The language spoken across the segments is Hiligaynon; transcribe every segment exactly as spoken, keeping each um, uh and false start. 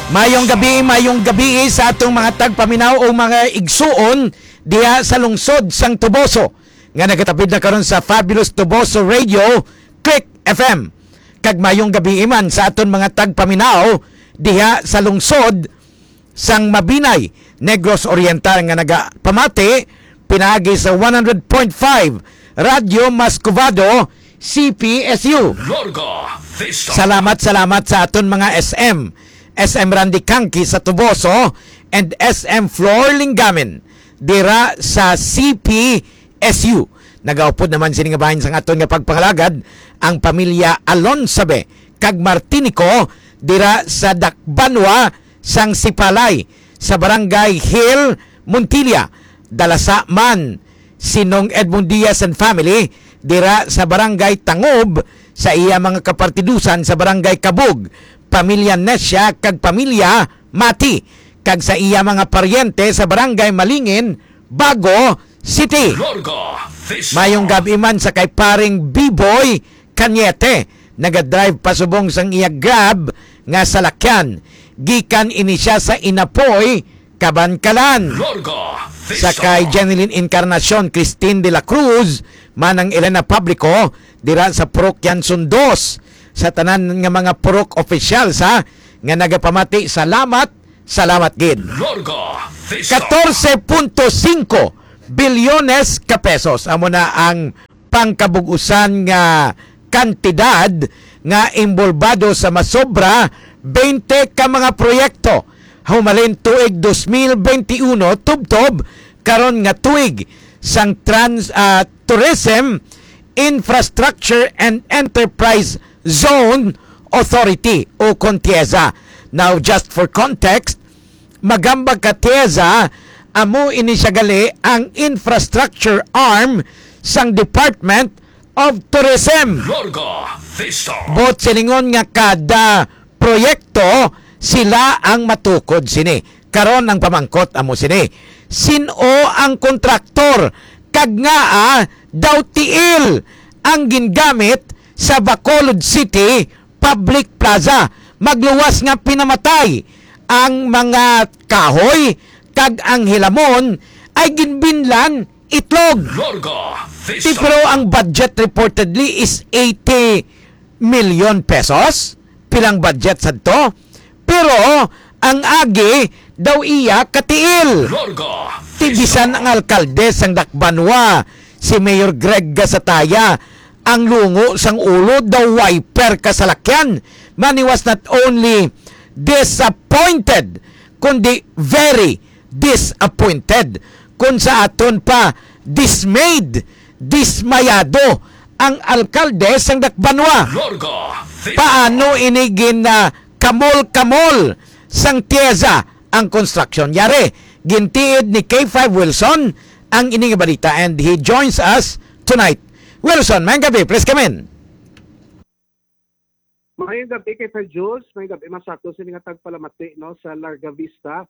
Mayong gabi, mayong gabi sa atong mga tagpaminaw o mga igsuon diha sa lungsod sang Toboso nga nagatapid na karon sa Fabulous Toboso Radio, Click F M. Kag mayong gabi man sa aton mga tagpaminaw diha sa lungsod sang Mabinay, Negros Oriental nga nagapamati pinaagi sa one hundred point five Radyo Mascovado, C P S U. Larga Vista. Salamat, salamat sa aton mga S M, S M Randy Kangki sa Toboso, and S M Flor Lingamin dira sa C P S U. Nagaupod naman sini nga bahin sang aton nga pagpangalagad ang pamilya Alonsabe kag Martinico dira sa Dakbanwa sang Sipalay sa Barangay Hill, Montilla. Dalasa man si Nong Edmond Diaz and family dira sa Barangay Tangob sa iya mga kapartidusan sa Barangay Kabug, pamilya Nesya kag pamilya Mati, kag sa iya mga paryente sa Barangay Malingin, Bago City. Larga Vista. Mayong gabi man sa kay paring Biboy Cañete, nagadrive pasubong sang iya Grab nga salakyan. Gikan ini siya sa Inapoy, Kabankalan. Larga Vista. Sa kay Jeneline Encarnacion, Christine de la Cruz, Manang Elena Publico, dira sa Purok Yanson Dos. Sa tanan nga mga purok officials, ha, nga nagapamati, salamat, salamat gid. Larga Vista. Katorse punto singko bilyones ka pesos amo na ang pangkabug-usan nga kantidad nga imbolbado sa masobra twenty ka mga proyekto humalin tuig dos mil twenty-uno tubtob karon nga tuig sang trans, ah, Tourism, Infrastructure and Enterprise Zone Authority o kon TIEZA. Now, just for context, magambag ka TIEZA, amo ini siya gali ang infrastructure arm sang Department of Tourism. Larga Vista. Buot silingon nga kada proyekto sila ang matukod sini. Karon ang pamangkot amo sini, sin-o ang kontraktor kag ngaa daw tiil ang gingamit sa Bacolod City Public Plaza? Magluwas nga pinamatay ang mga kahoy kag ang hilamon ay ginbinlan itlog. Larga Vista. Ti, pero ang budget reportedly is eighty million pesos. Pilang budget sadto? Pero ang agi daw iya katiil. Larga Vista. Ti bisan ang alkalde sang Dakbanwa, si Mayor Greg Gasataya, ang lungo sang ulo daw wiper kasalakyan. Man, he was not only disappointed, kundi very disappointed. Kung sa aton pa, dismayed, dismayado ang alkalde sang Dakbanwa. Larga Vista. Paano ini gin, ah, kamol-kamol sang TIEZA ang construction? Yari, gintiid ni K five Wilson ang ini nga balita, and he joins us tonight. Wilson, mayong gabi, please come in. Mayong gabi kay Sir Jules, mayong gabi man sa ato sini nga tagpalamati, no, sa Larga Vista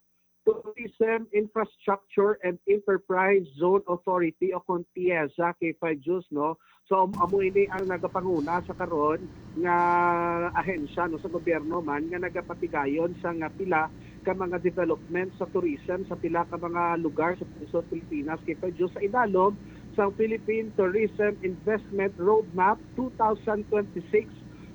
Tourism Infrastructure and Enterprise Zone Authority o kon TIEZA, kay Sir Jules, no. So, am-, amo ini ang nagapanguna sa karon nga ahensya, no, sa gobyerno man nga nagapatigayon sa nga pila ka mga development sa tourism sa pila ka mga lugar sa Pilipinas, kay Sir Jules, sa idalom sang Philippine Tourism Investment Roadmap two thousand twenty-six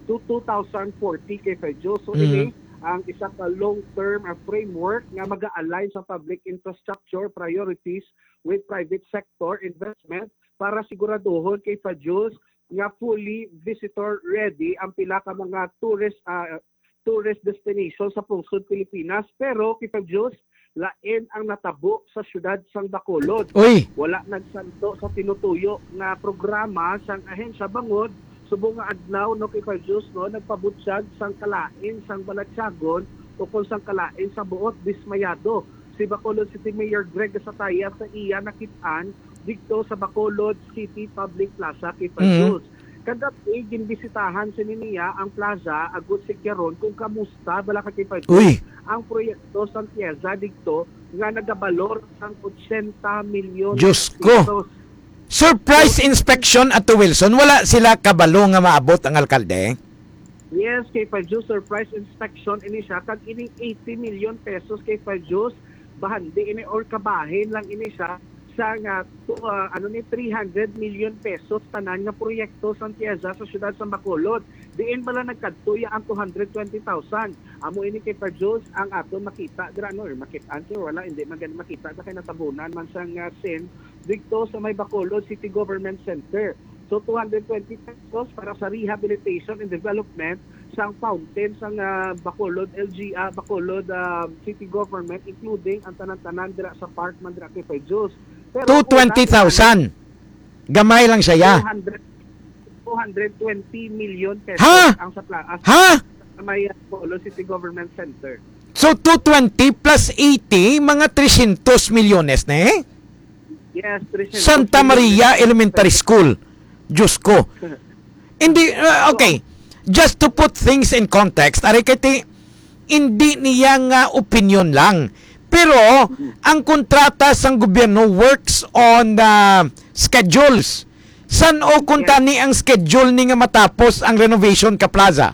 to two thousand forty, kay Sir Joe. So, mm, ini ang isa ka long-term, ah, framework nga mag-a-align sa public infrastructure priorities with private sector investment para siguraduhon, kay Sir Joe, nga fully visitor ready ang pila ka mga tourist, ah, tourist destination sa pungsod Pilipinas. Pero, kay Sir Joe, lain ang natabo sa siyudad sang Bacolod. Uy! Wala nagsanto sa tinutuyo nga programa sang ahensya bangod subong nga adlaw, no, kay Sir Jules, no, nagpabutyag sang kalain sang balatyagon o kon sang kalain sa buot dismayado si Bacolod City Mayor Greg Gasataya sa iya nakit-an didto sa Bacolod City Public Plaza, kay Sir, mm, Jules. Kagab-i, ginbisitahan sini niya ang plaza agud sikyaron kung kamusta bala ka, kay Sir Jules, uy, ang proyekto sang TIEZA didto nga nagabalor sang ochenta milyon, Diyos ko, pesos. Surprise inspection ato, Wilson. Wala sila kabalo nga maabot ang alkalde? Yes, kay Fajus, surprise inspection ini siya, kag ining eighty million pesos, kay Fajus, bahandi ini or kabahin lang ini siya sa nga to, ah, ano ni, three hundred million pesos tanan nga proyekto sa TIEZA sa siyudad sa Bacolod. Diin bala nagkadto ya ang two hundred twenty thousand? Amo ini, kay Fajus, ang aton makita dira, no, or makit-an, kay wala, hindi man gani makita sa kay natabunan man sang, ah, sin didto sa may Bacolod City Government Center. So, two hundred twenty pesos para sa rehabilitation and development sang fountain sang, ah, Bacolod L G, ah, Bacolod, ah, City Government, including ang tanan-tanan dira sa park man dira, kay Fajus. Pero two twenty thousand. Gamay lang siya, ya. Two hundred, two hundred twenty million pesos Ha? ang sa pla-, as-, Ha? sa may, ah, Bacolod City Government Center. So, two twenty plus eighty, mga three hundred milyones na eh. Yes, three hundred Santa Maria million. Elementary School. Diyos ko. Hindi, uh, okay. Just to put things in context, ari kay ti, hindi niya nga opinion lang. Pero, ang kontrata sang gobyerno works on, uh, schedules. San-o kung Yes. tani ang schedule ni nga matapos ang renovation ka plaza?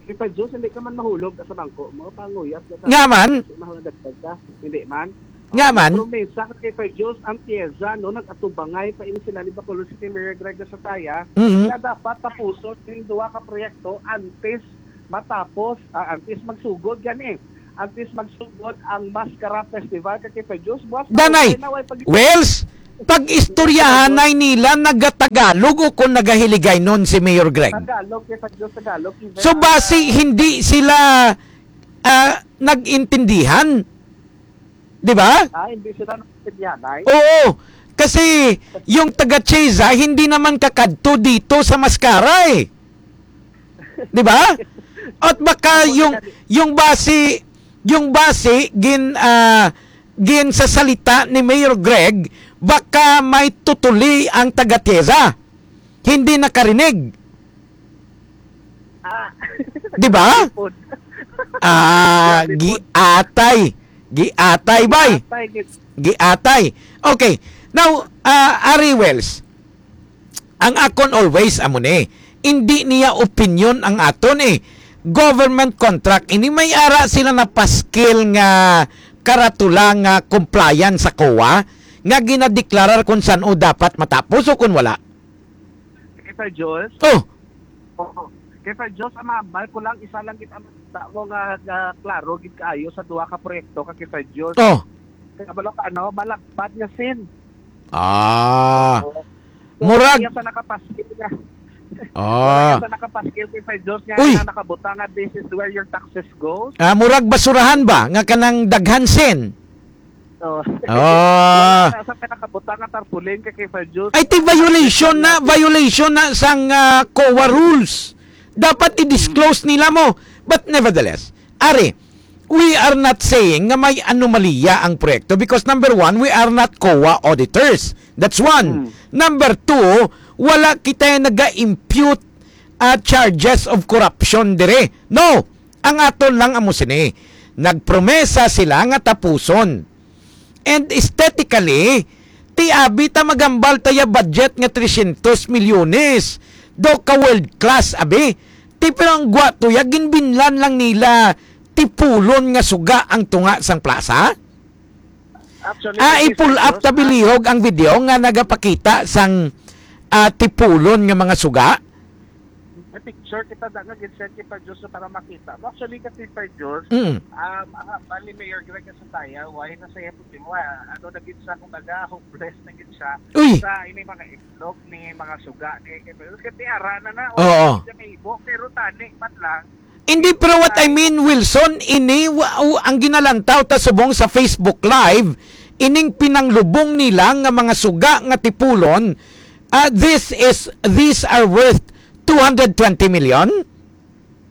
Kay Fajus, hindi ka man mahulog sa bangko mo, panguyas na sa Nga man? Mahulog ka. Hindi man. Nga man? Promesa ka, kay Fajus, ang TIEZA, no, nag-atubangay pa ini sila ni Bacolod City Mayor Greg Gasataya, Mhm. na dapat tapuson yung duha ka proyekto antes matapos, ah, antes magsugod gani. Antes magsugod ang Maskara Festival, kay Fajus, buwas na Danay, okay na, way pag- Wells, pag-istoryahanay nila, nagatagalog o kung nagahiligaynon si Mayor Greg? Tagalog, kay Fajus, Tagalog. Even So, ang, basi ah, hindi sila, ah, nag-intindihan? Di ba? Ah, hindi sila nag-intindihan, ay? Oo. Kasi yung taga TIEZA, hindi naman kakadto dito sa Maskara eh. Di ba? At baka Ako yung, na yung basi, yung basi, gin, ah, gin sa salita ni Mayor Greg, baka may tutuli ang taga TIEZA. Hindi nakarinig. Ah. Di ba? Ipon. Ah, Ipon. Giatay. Giatay, bay. Giatay, gid. Giatay. Okay. Now, ah, Ari Wells, ang akon always amo ni, hindi niya opinion ang aton eh. Government contract ini, may ara sila napaskil nga karatula nga compliance sa COA nga ginadeklarar kung san-o dapat matapos o kung wala. Kay Fajus? Oh. Oo. Kay Fajus, ang mahambal ko lang, isa lang gid ang makita mo nga, nga klaro gid kaayo sa duha ka proyekto ka, kay Fajus. Oh. Kaya bala ka, ano, malagpad nga sin. Ah. Oo. Murag Kaya sa nakapaskil nga. Ah. Kaya sa nakapaskil, kay Fajus, nga Uy! na nakabutang nga, "This is where your taxes goes." Ah, murag basurahan ba nga kanang daghan sin? Oh. Ah. Sa pinakabutang nga tarpaulin ka, kay Fajus. Ay, ti violation na, violation na sang, ah, COA rules. Dapat i-disclose nila mo. But nevertheless, Ari, we are not saying nga may anomalya ang proyekto because number one, we are not COA auditors. That's one. Hmm. Number two, wala kita naga-impute, ah, charges of corruption dire. No. Ang aton lang amo sini, nagpromesa sila nga tapuson. And aesthetically, ti abi ta magambal ta ya budget nga three hundred milyones. Daw ka world class, abi. Ti pero ang gwa to ya, ginbinlan lang nila tipulon nga suga ang tunga sang plaza. Actually, Ah, kay i-pull up Fajus, ta bilihog ang video nga nagapakita sang, ah, tipulon nga mga suga. May picture kita da nga gid-send kay Fajus para makita mo. Actually, kay Fajus, Mm. um, ang hambal ni Mayor Greg Gasataya, why na sa iya problema? Ano na gid siya, kumbaga, hopeless na gid siya Uy! sa ini mga itlog ni mga suga ni kay Fajus. Kay ara na na, Oo. Siya may ibo, pero tani man lang. Hindi, pero what I mean, Wilson, ini, wa-, u-, ang ginalantaw ta subong sa Facebook Live, ining pinanglubong nila nga mga suga nga tipulon, ah, this is, these are worth two hundred twenty million?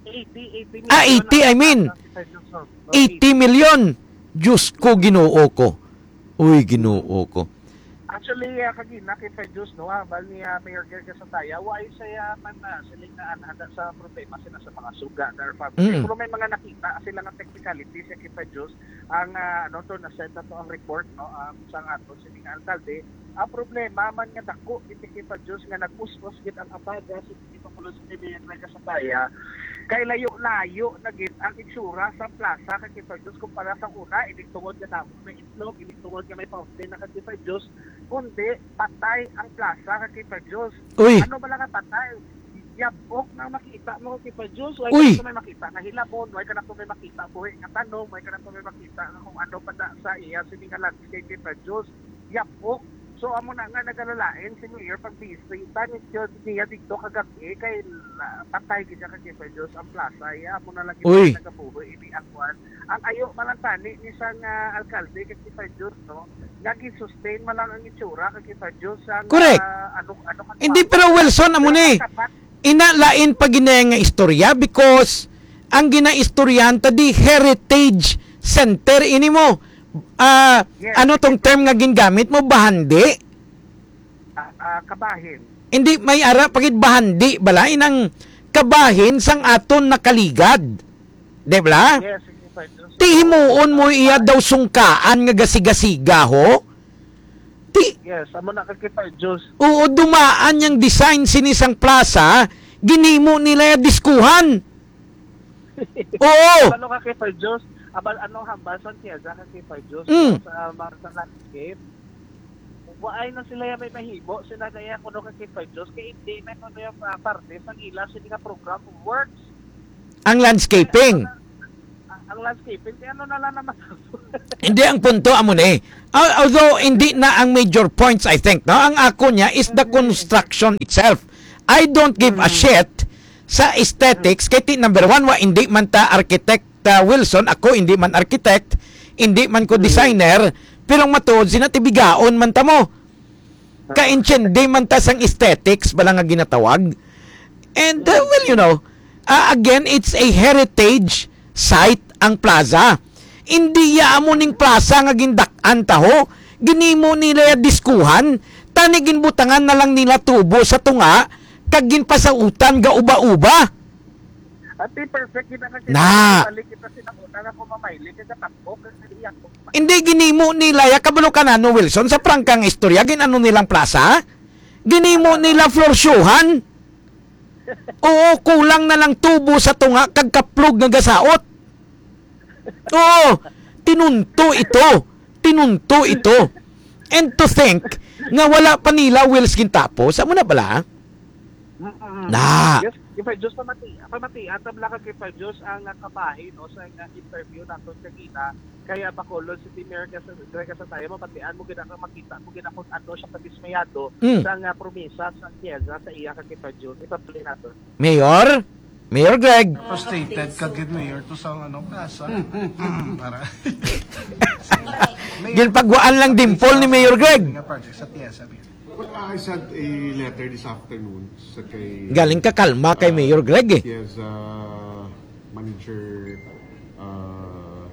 Eighty, eighty Ah, million eighty, I lang mean. ang Fajus. Eighty million. Diyos ko, Ginoo ko. Uy, Ginoo ko. Actually, ah, kagina kay Fajus, no, ah, bal ni, ah, Mayor Greg Gasataya, wa ay saya man, ah, siling na anhanda sa problema sila sa mga suga, their family. Mm. Pero may mga nakita sila nga technicality sa kay Fajus, ang, ah, ano to, na-send na to ang report, no, um, sa nga to, siling nga alkalde, Ang problema man nga dako gid, kay pa Diyos, nga nag-us-os gid ang abaga sa Pangulong sa Pilipinas sa Taya, kay layo-layo na gid ang itsura sa plaza, kay pa Diyos, kumpara sa una, hindi tungod nga damo may itlog, hindi tungod nga may fountain na, kay pa Diyos, kundi patay ang plaza, kay pa Diyos. Uy. Ano ba lang ang patay? Yabok na makita mo, kay pa Diyos. Why Uy. Ka na may makita nga hilabon? Why ka na to may makita buhi nga tanom? Why ka na to may makita nga kung ano pa da sa iya sini nga landscape, kay pa Diyos? Yabok. So, amo na nga nagalalain si Mayor pag-visit niya dito kagabi kay, ah, patay gid siya, kay pa Diyos, ang plaza. Iya, amo na lagi Uy. Nagabuhi ini ang kwan. Ang ayo man lang tani ni sang, ah, alkalde, kay pa Diyos, no? Nag-sustain man lang ang itsura, kay pa Diyos, ang, Correct. Ah, ano, ano ka Hindi, pa? Pero Wilson, amo Pero ni. Ang tapat, Ina lain pa gina nga istorya because ang ginaistoryahan ta di heritage center ini mo. Ah, Yes. Ano tong term nga gingamit mo? Bahandi? Ah, ah, kabahin. Hindi, may ara pa gid bahandi bala inang kabahin sang aton nakaligad. Di ba? Yes, yes, sir. Ti himuon mo iya daw sungkaan nga gasigasiga ho? Ti Yes, amo na, kay pa Diyos. Oo, dumaan yang design sini sang plaza, ginimo nila ya diskuhan. Oo. Ano ka, kay pa Diyos? Abal, ano, hambal sang Tiyaga ka, kay pa Diyos, Mm. Sa, sa landscape. Waay na sila ya may mahimo, sila na ya kuno ka, kay pa Diyos, kay hindi na kuno yung, ah, parte sa ila, sila nga program of works. Ang landscaping. Ang, ang landscaping, kaya ano na lang naman. Hindi, ang punto amo ni. Al-, although hindi na ang major points, I think, no? Ang ako niya is the construction itself. I don't give a Mm. shit sa aesthetics. Kay ti, number one, wa, hindi man ta architect, uh, Wilson. Ako, hindi man architect. Hindi man ko Mm. designer. Pero ang matuod, sina ti bigaon man ta mo. Kaintindi man ta sang aesthetics bala nga ginatawag. And, uh, well, you know, uh, again, it's a heritage site ang plaza. Indi ya amo ning plaza nga gindak-an ta ho. Ginimo nila ya diskuhan, tani ginbutangan na lang nila tubo sa tunga, kag ginpasautan ga uba-uba. Ati, perfect kita kasi Na. Balik kita sinakuna nga kumamayli, kaya tapok, kasi iyang Hindi ginimo nila ya, kabalo ka na, no, Wilson, sa prangkang istorya, gin-ano nilang plaza? Ginimo nila floor show-han. Oo, kulang na lang tubo sa tunga kag kaplog nga gasaot. Oo, tinunto ito. Tinunto ito. And to think nga wala pa nila Wills gintapos. Amo na bala? Mm-mm. Na. Yes, kay pa Diyos, pamati-, pamatian ta bala ka kay pa Diyos ang, ah, kabahin, no, sa, ah, interview naton kagina kay, ah, Bacolod City Mayor Gas-, Greg Gasataya, mapatian mo gid ang makita mo gid ang kung ano siya kadismayado Mm. sa nga promesa sa Tiyaga sa iya ka kay pa Diyos. Ipaplay naton. Mayor? Mayor Greg? Stated ka gid, Mayor, to sa, ano, plaza. Para. Ginpagwaan lang dimple ni Mayor Greg. Nga project sa Tiyaga, Mayor. Well, I sent a letter this afternoon sa kay, Galing ka kalma kay uh, Mayor Greg eh. Yes, uh, Manager, uh,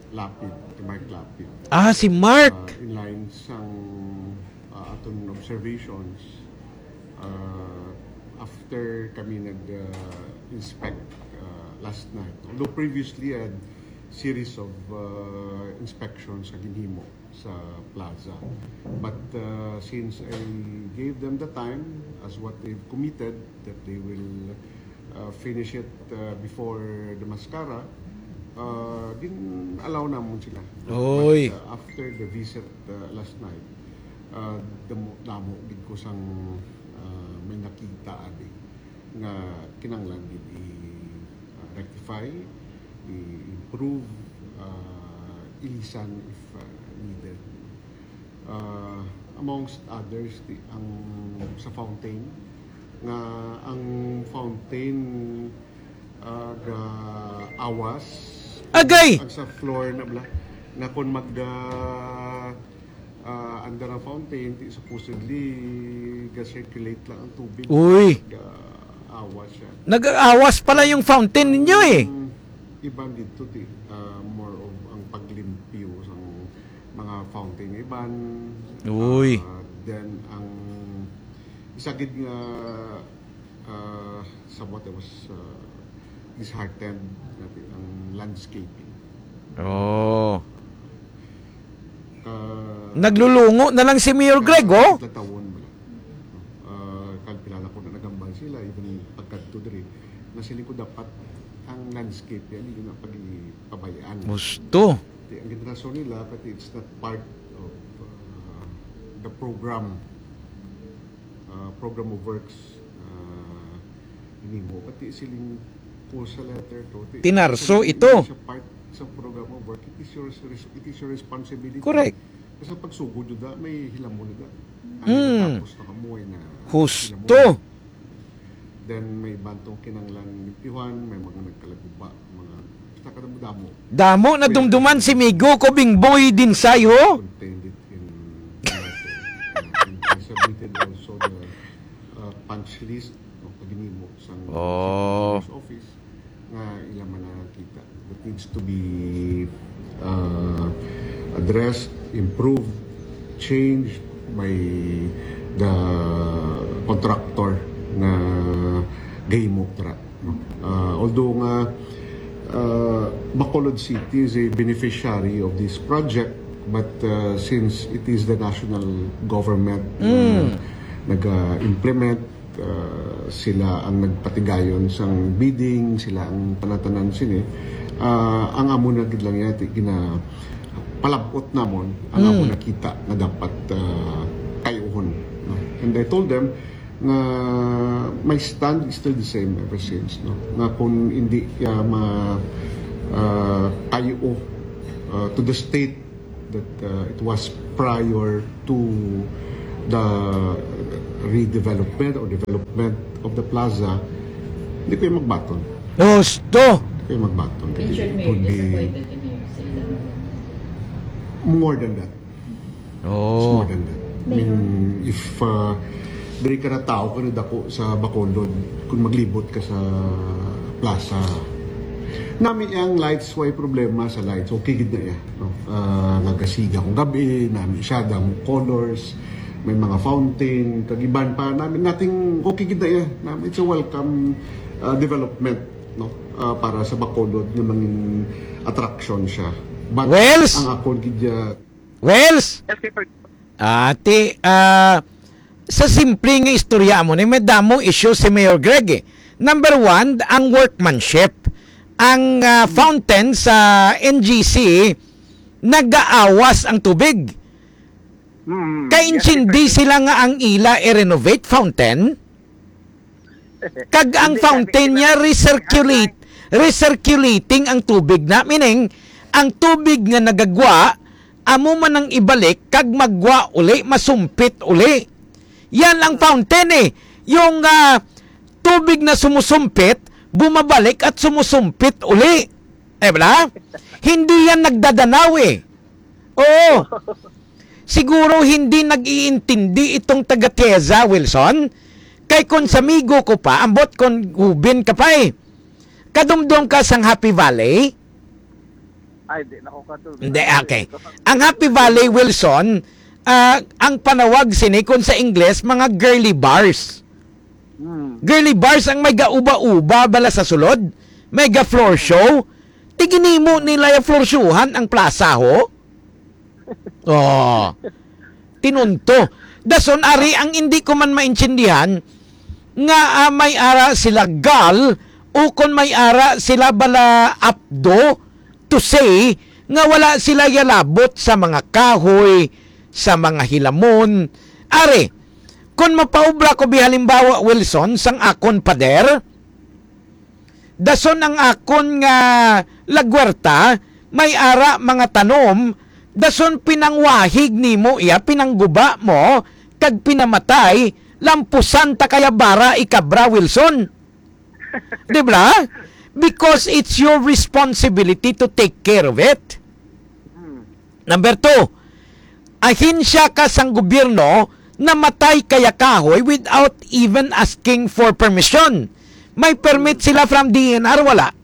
Lapid, kay Mark Lapid. Ah, si Mark. Uh, in line sang, uh, aton observations, uh, after kami nag, uh, inspect, uh, last night. Although previously, a series of, uh, inspections sa ginhimo sa plaza. But, uh, since I gave them the time, as what they've committed, that they will, uh, finish it, uh, before the mascara, uh, gin-allow namon sila. Oy. But, uh, after the visit, uh, last night, uh, damo, damo gid ko sang, uh, may nakita adi nga kinahanglan gid i, uh, rectify, i-improve, uh, ilisan if, uh, needed. Uh, amongst others, ti-, ang sa fountain, nga ang fountain, uh, ga-awas. Agay! Ang sa floor na bala, nga kung mag, uh, ah, under ang fountain, ti supposedly ga-circulate lang ang tubig. Uy. Ga-awas siya. Nag-aawas pala yung fountain ninyo eh. Ang iban dito, ti, ah, more of ang paglimpyo sa mga fountain nga iban. Uy. Ah, then, ang isa gid nga, ah, somewhat I was, ah, disheartened nga ti ang landscaping. Oh. Ka-, Naglulungo na lang si Mayor Greg, oh. Tatlong taon mo lang. Ah, kag kilala ko na nagambal sila, even pagkadto diri, na siling ko dapat ang landscape yan, hindi na pag-ipabayaan. Gusto. Di, ang ginatraso nila, pati it's not part of, uh, the program, uh, program of works, uh, nimo. Pati siling ko sa letter to, ti-, Tinarso hindi ito. Siya part sa program of work. It is your res-, it is your responsibility. Correct. Kasi pagsugod yun da, may hilamon na da. Ang Mm. Tapos na kamoy na Husto. Hilamon. Then may bantong kinanglan limpyuhan, may mga nagkalaguba, mga basta kadamo-damo. Damo na dumduman si Migo ko Bingboy Dinsay, ho? Contained it in, in, in, I submitted also the, uh, punch list, no, pag-inimo sang Oh. Office nga ila man nakita that needs to be, uh, addressed, improved, changed by the contractor nga gahimo dira, no? Uh, although nga, uh, Bacolod City is a beneficiary of this project, but, uh, since it is the national government na Mm. nag-implement, uh, sila ang nagpatigayon sang bidding, sila ang tanan-tanan sini. Uh, ang amo na gid lang yati gina palabot namon ang amo Mm. nakita nga dapat, uh, kayuhon, no? And I told them nga my stand is still the same ever since, no? Nga kung hindi, uh, ma-, uh, kayo, uh, to the state that, uh, it was prior to the redevelopment or development of the plaza, hindi ko yung magbaton. Gusto! Hindi ko yung magbaton. Richard, It may would be disappointed in you sa ilang more than that. It's Oh. more than that. I mean, if, uh, diri ka na tao, ka na dako sa Bacolod, kung maglibot ka sa plaza, nami ang lights, way problema sa lights. Okay gid na iya, no? Ah, nagasiga kung gabi, nami siya, damo colors, may mga fountain, kag iban pa, nami, nothing, okay gid na iya. Nami, it's a welcome, uh, development, no? Uh, para sa Bacolod nga mangin attraction siya. But Wells? ang akon gid, uh, Wells? Yes, sir. Ati, ah, sa simple nga istorya mo ni, may damo issue si Mayor Greg, eh. Number one, ang workmanship. Ang, ah, fountain sa N G C, nagaawas ang tubig. Mm, Kay yes, intindi sir. sila nga ang ila i-renovate fountain, kag ang Hindi, fountain sabi niya nila, recirculate, recirculating ang tubig na, meaning, ang tubig nga nagagwa, amo man ang ibalik, kag magwa uli, masumpit uli. Yan ang fountain eh. Yung, ah, tubig na sumusumpit, bumabalik at sumusumpit uli. Eh, wala? Hindi yan nagdadanaw eh. Oo. Siguro hindi nag-iintindi itong taga Tieza, Wilson. Kay kung sa migo ko pa, ambot kung hubin ka pa eh. Kadumdom ka sang Happy Valley? Ay, di na ko kadumdom. Hindi, okay. Ang Happy Valley, Wilson, ah, ang panawag sini kung sa Ingles, mga girly bars. Hmm. Girly bars ang may gauba-uba bala sa sulod, may ga floor show. Tiginimo nila yung floor showhan ang plaza, ho? Oh. Tinunto. Dason ari ang hindi ko man maintindihan nga, ah, may ara sila gal o kon may ara sila bala apdo to say nga wala sila yalabot sa mga kahoy, sa mga hilamon. Ari, kon mapaubra ko bihalimbawa, Wilson, sang akon pader, dason ang akon nga lagwerta, may ara mga tanom, dason pinangwahig nimo iya, pinangguba mo, kag pinamatay, lampusan ta kaya bara ikabra, Wilson. Di ba? Because it's your responsibility to take care of it. Hmm. Number two, ahensya ka sang gobyerno, namatay kaya kahoy without even asking for permission. May permit sila from D N R, wala?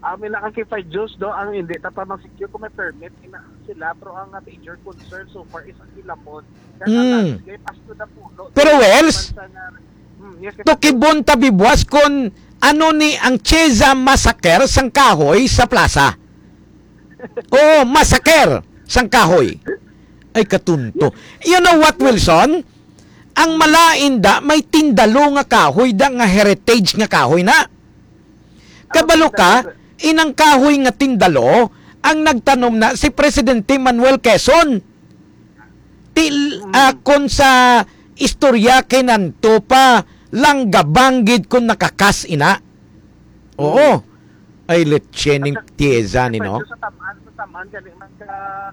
Amin nakakipay Diyos do ang hindi ta pa mag-secure kung may permit ina sila, pero ang, ah, major concern so far is ang hilamon. Kaya Mm. ang landscape as to the puno. Pero, Wells, Sa nga, hmm, yes, yes. Tukibon ta bibwas kon ano ni ang Cheza Massacre sang kahoy sa plaza. Oo, massacre sang kahoy. Ay, katunto. You know what, Wilson? Ang malain da, may tindalo nga kahoy da, nga heritage nga kahoy na. Kabalo ka, inang kahoy nga tindalo, ang nagtanom na si Presidente Manuel Quezon. Til, Mm. ah, kon sa istorya kay nanto pa, lang gabang gid kon nakakas ina. Oo. Mm. Ay, leche ning At sa, Tieza ni, no? Sa tamaan, sa tamaan, gani man ka,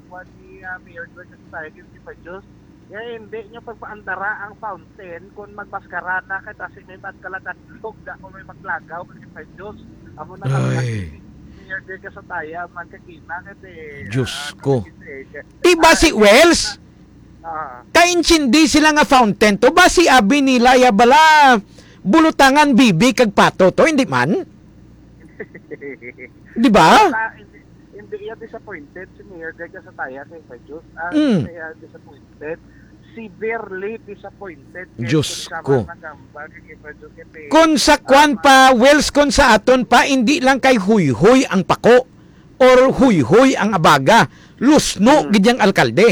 kuwan ni, ah, Mayor Gwen, sa society, si Fred Diyos. Nga hindi nyo pagpaandara ang fountain kung magmaskara na kay basi may magkaladadlog na kung may maglagaw kay Fred Diyos. Amo na lang Ay. Mayor Gwen, ka sa taya, man kagina, kay, Diyos ah, ko. Kay, Di ba si Wells? Ah. Kaintindi sila nga fountain to. Ba si abi nila ya bala bulutangan bibi kag pato to, hindi man? Di ba? Sa, hindi, hindi iya disappointed si Mayor Gwen sa taya kay Fred Diyos. Ah, Mm. Hindi iya disappointed. Severely disappointed. Kay Diyos kung siya ko. Man nagamba kay Fred Diyos, kay Kung sa kwan ah, pa, Wells, kung sa aton pa, hindi lang kay huyhoy ang pako or huyhoy ang abaga. Lusno Mm. gid yang alkalde.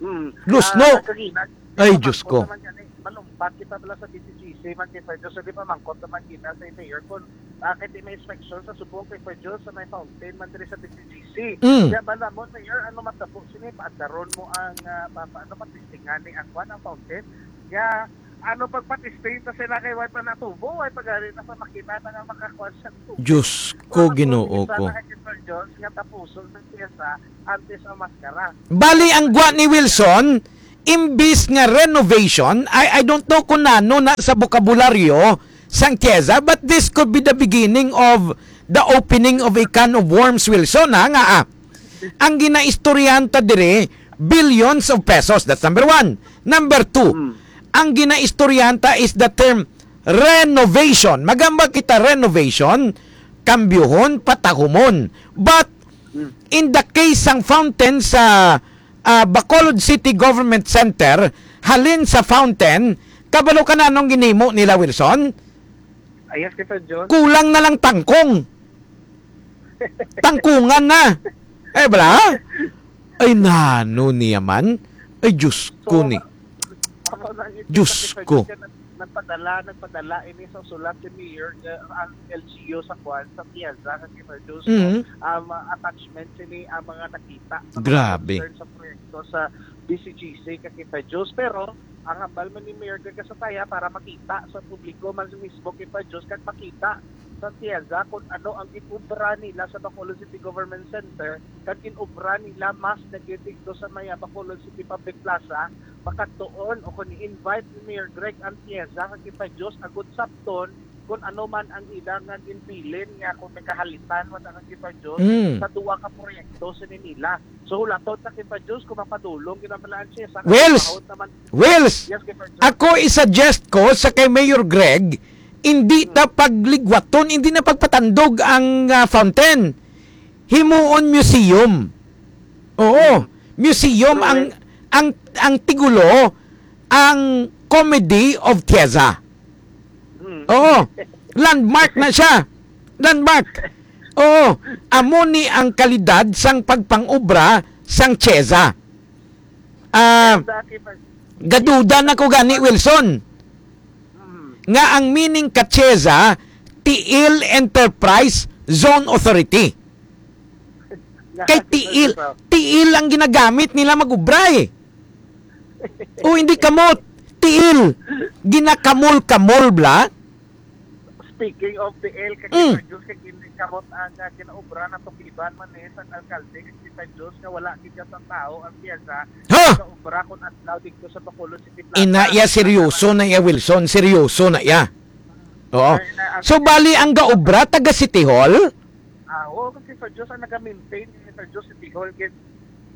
Mm. Lusno. Ah, kagina, Ay, Diyos ko. Naman gani, malumpat kita bala sa D C G C, man kay Fred Diyos, di pa mangkot naman kita sa mayor kung bakit may inspection sa subong kay Fred Diyos sa may fountain man diri sa D C G C. Mm. Kaya ba naman, Mayor, ano matabo sini? Paadaron mo ang, ah, pa, pa, ano, patistingan ni ang kwan, ang fountain? Kaya, ano pagpatisting ta sila kay way pa natubo, way pa gani na sa makina na nga makakuha siya tubo. Diyos ko, Ano, Ginoo isa ko. Na kay Fred Diyos, nga tapuson sa piyesa, antes ang maskara. Bali, ang gwa ni Wilson, imbis nga renovation, I, I don't know kung nano na sa bokabularyo sang Tieza, but this could be the beginning of the opening of a can of worms, Wilson, ha, nga, ah, ang ginaistoryahan ta diri, billions of pesos. That's number one. Number two, Hmm. ang ginaistoryahan ta is the term renovation. Magamba kita renovation, kambyuhon, patahumon. But Hmm. in the case sang fountain sa, ah, Bacolod City Government Center, halin sa fountain, kabalo ka na anong ginhimo nila, Wilson? Ayas kita, John. Kulang na lang tangkong. Tangkungan na. Eh, bala? Ay, nano niya man? Ay, Diyos ko So, ni. ako lang ito Diyos kasi ko. Nag-, nagpadala, nagpadala ini sa sulat si Mayor, eh, ang L G U sa kwan, sa Tieza, kasi Fred Diyos, no? Mhm. Um, attachment sini ang mga nakita sa mga Grabe. Concern sa proyekto sa D C G C, kasi Fred Diyos. Pero, ang hambal man ni Mayor Gwen Casataya para makita sa publiko man mismo kay Fred Diyos, kag makita sa Tieza kung ano ang gin-obra nila sa Bacolod City Government Center, kag gin-obra nila mas na gid dito sa may, ah, Bacolod City Public Plaza, makadtuon o kung i-invite ni Mayor Greg ang Tieza kag kita Diyos agud sabton kung ano man ang ila nga ginbilin nga kung may kahalitan wala kang kita Diyos Mm. sa duwa ka proyekto sini nila. So, hulaton ta kita Diyos kung mapadulong gid ang mga Tieza. Wells! Mahal naman. Wells! Yes, kita Diyos. Ako i-suggest ko sa kay Mayor Greg, hindi ta pagligwaton, hindi na pagpatandog ang, ah, fountain. Himuon museum. Oo, museum ang, ang, ang tigulo, ang Comedy of Tieza. Mm. Oo, landmark na siya. Landmark. Oo, amo ni ang kalidad sang pagpangobra sang Tieza. Ah, Dati pa. Gaduda na ko gani, Wilson, Mm. nga ang meaning ka Tieza, Tiil Enterprise Zone Authority. Kay tiil, tiil ang ginagamit nila mag-ubra eh. O hindi kamot, tiil. Ginakamol-kamol bla. Speaking of tiil, kay Mm. Diyos kay hindi kamot ang, ah, ginaobra na tukiban man eh sa alkalde kay kita Diyos nga wala gid sa tao ang piyesa Ha? Sa obra kung adlaw dito sa Bacolod City Plaza. Ina iya, seryoso na iya, Wilson. Seryoso na iya. Oo. Ay, na, ang So, bali ang gaobra taga City Hall? Ah, oo, kasi sa Diyos ang nag-maintain, eh, sa Diyos City Hall, gid.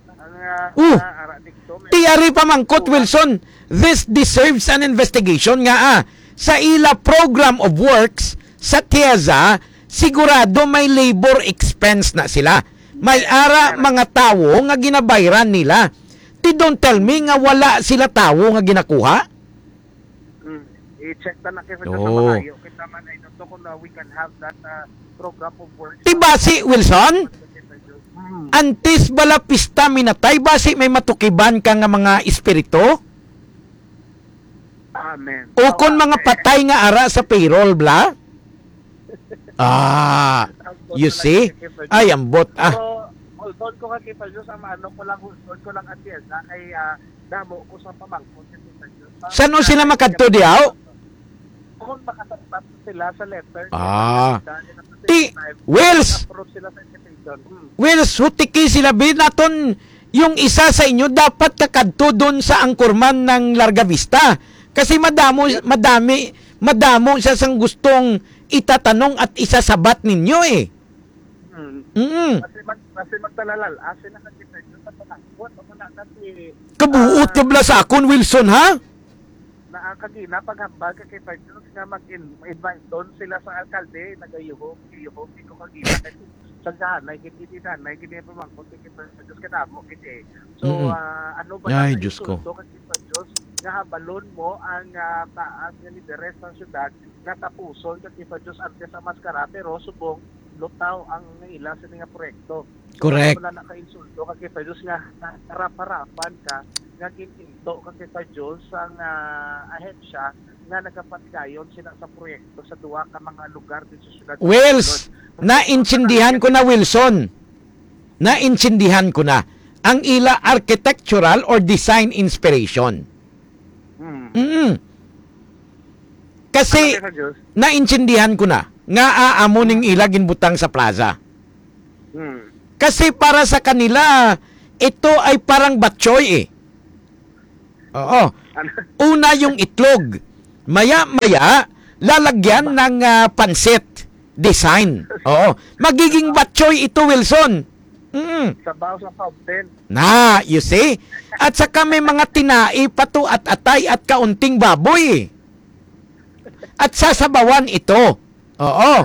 Ang, ah, Oh. ah, ara dito, may Ti ari pamangkot, Wilson, this deserves an investigation nga, ah, sa ila program of works sa Tieza, sigurado may labor expense na sila. May ara mga tawo nga ginabayran nila. Ti don't tell me nga wala sila tawo nga ginakuha. Mm. I-check ta na kay sa Oh. Malayo. Kita man ay to kung, uh, we can have that, uh, program of work. Ti basi, Wilson? Mm. Antes bala pista minatay, basi may matukiban ka nga mga espiritu? Amen. O kon mga patay nga ara sa payroll, bla? Ah, you see? Ay, ambot, ah. So, hold on ko kay Kay Diyos, ang maano ko lang, hold on ko lang, Ate Elsa, kay, ah, damo ko sa pamangkot kay Kay Diyos. Saan sila makadto diaw? Kung makasagpat sila sa letter, Ah. Ti, Wills! Approve sila sa invitation. Hmm. Wills, hutiki sila, bi, naton yung isa sa inyo dapat kakadto dun sa anchorman ng Larga Vista. Kasi madamo, Yes. madami, madamo siya sang gustong itatanong at isasabat ninyo eh. Hmm. Mm. Kasi mag-, kasi magtalalal, asin na kasi medyo sa panangkot, ako na kasi, Kabuot ah, ka bala sa akon, Wilson, ha? Na ang kagina paghambal ka kay Diyos nga mag-in-, invite doon sila sa alkalde, nagayuhom, gayuhom, di ko kagina kay sa gahanay, gid, gid, hanay, gid, yung pamangkot, gid, sa Diyos, kadamo, gid, eh. So, Mm. ah, ano ba Ay, na Diyos ko. insulto ka, gid, sa Diyos, nga habalon mo ang, ah, taas nga lideres ng syudad, nga tapuson, ka, gid, sa Diyos, antes ang maskara, pero subong, lutaw ang ila sa nga proyekto. Correct. Wala na ka insulto, ka, gid, sa Diyos, nga harap-harapan ka, nga gininto, ka, gid, sa Diyos, ang, ah, ahensya, nga nagapatigayon sila sa proyekto sa duwa ka mga lugar dito sa syudad sa Wills, Bacolod. Naintindihan ko na, Wilson. Naintindihan ko na ang ila architectural or design inspiration. Hmm. Mm. Kasi, Ano kay sa Diyos? Naintindihan ko na nga aamo ning ila ginbutang sa plaza. Hmm. Kasi para sa kanila, ito ay parang batchoy eh. Oo. Ano? Una yung itlog. Maya-maya, lalagyan Ba- ng, ah, pansit design. Oo. Magiging batchoy ito, Wilson. Mm. Sabaw sa fountain. Na, you see? At saka may mga tinai pa to at atay at kaunting baboy. At sasabawan ito. Oo.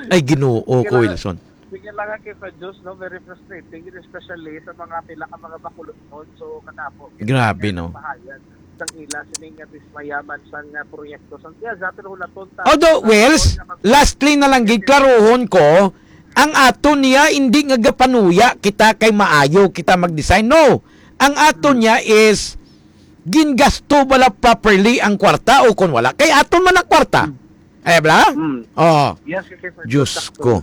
Ay, Ginoo ko, Kailangan, Wilson. Sige lang nga kay sa Diyos, no? Very frustrating, especially sa mga pila ka mga bakulod nun. So, kanapo. Grabe, no? Mahayag sang ila, sining nga dismayaman sang, ah, proyekto sang Tiyaza, pero wala ton ta-, Although, ta-, Wells, ta-, lastly na lang, giklaruhon ko, ang aton niya, hindi nga gapanuya kita kay maayo kita mag-design. No. Ang aton Hmm. niya is, gingasto bala properly ang kwarta o kung wala? Kay aton man ang kwarta. Hmm. Ay, bala? Hmm. Oh. Yes, yes, yes, Diyos sakto. ko.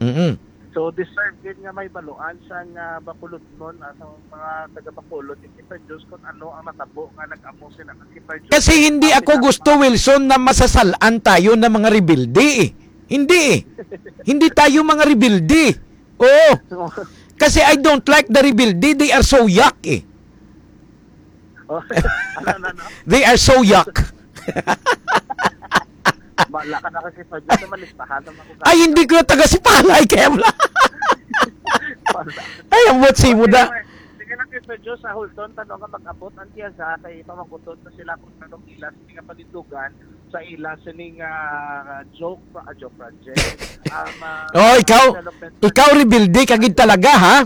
Mm-mm. So, deserve gid nga may baluan sa nga Bacolodnon, ah, sa mga taga Bacolod, kay sa Diyos kung ano ang natabo nga nag-amo sila kay sa Diyos. Kasi hindi Ang ako pinaka- gusto, Wilson, na masasalan tayo ng mga rebelde eh. Hindi eh. Hindi tayo mga rebelde. Oo. Kasi I don't like the rebelde. They are so yuck eh. Oh, ano, ano, ano? They are so yuck. Bala ka na kasi sa Diyos, malistahan naman ko. Ay, hindi ko na taga Sipalay, kaya wala. Bala. Ay, ang buot simo Okay, da. Sige lang kay Sir Diyos, sa Hulton, tanong nga mag-abot ang Tiyaza, kay pamangkuton na sila kung anong ila sa mga panindugan, sa ila sining, ah, joke, ah, joke project. Um, ah, Oh, ikaw, development ikaw rebelde ka gid talaga, ha?